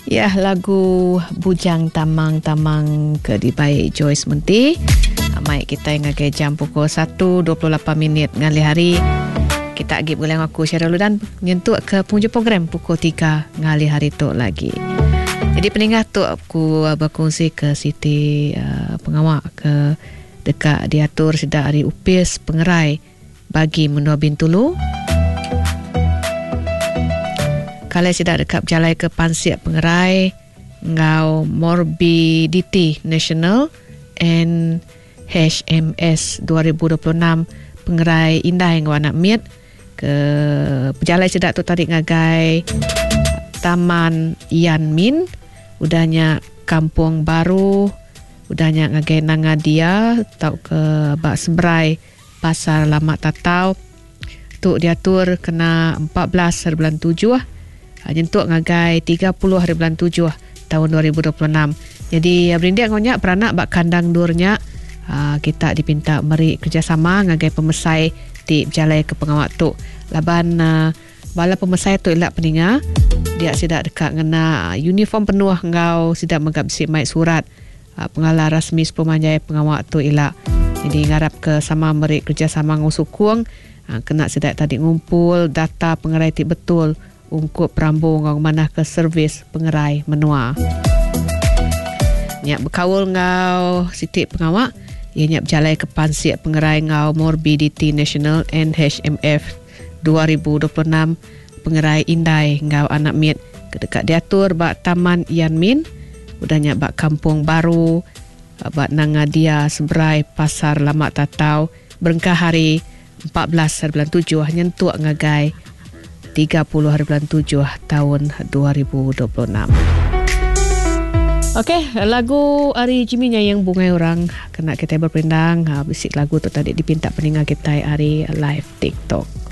Ya lagu Bujang Tamang Tamang ke dibai Joyce Menti. Mai kitai ngagai jam pukul 1.28 minit ngalih hari. Kita agi begulai enggau aku Cheryl Ludan nyentuk ke penghujung program pukul 3 ngalih hari tu lagi. Jadi peningah tu aku berkongsi ke siti uh, pengawa ke deka diatur sida ari Upis Pengerai bagi menua Bintulu. Kalai sida deka bejalai ke pansik pengerai enggau Morbidity National NHMS 2026 pengerai indai enggau anak mit ke pejalai sida tu tadi ngagai Taman Yan Min udah nya Kampung Baru udah nya ngagai Nanga Dia tauka ba Seberai Pasar Lama Tatau tu diatur kena 14 hari bulan 7 nyentuk ngagai 30 hari bulan 7 taun 2026. Jadi berindik enggau nya peranak ba kandang endur nya kita dipinta meri kerejasama ngagai pemesai ti bejalaika pengawa tu laban bala pemesai tu ila peninga dia sida deka ngena uniform penuh enggau sida mega bisi mai surat Pengala rasmi sepemanjai pengawa tu ila. Jadi ngarap ke sama meri kerejasama enggau sukung kena sida tadi ngumpul data pengerai ti betul ungkup perambu enggau ngemanahka servis pengerai menua. Nya bekaul enggau siti pengawa iya nya bejalaika pansik pengerai enggau Morbidity National NHMF 2026 Pengerai Indai enggau Anak Mit ke deka diatur ba Taman Yan Min, udah nya ba Kampung Baru ba Nanga Dia seberai Pasar Lama Tatau berengkah hari 14 hari bulan tujuh nyentuk ngagai 30 hari bulan tujuh taun 2026. Okey, lagu ari Jimmy Nyayeng Bungai Orang kena kitai beperindang. Bisi lagu tu tadi dipinta peninga kitai ari live TikTok.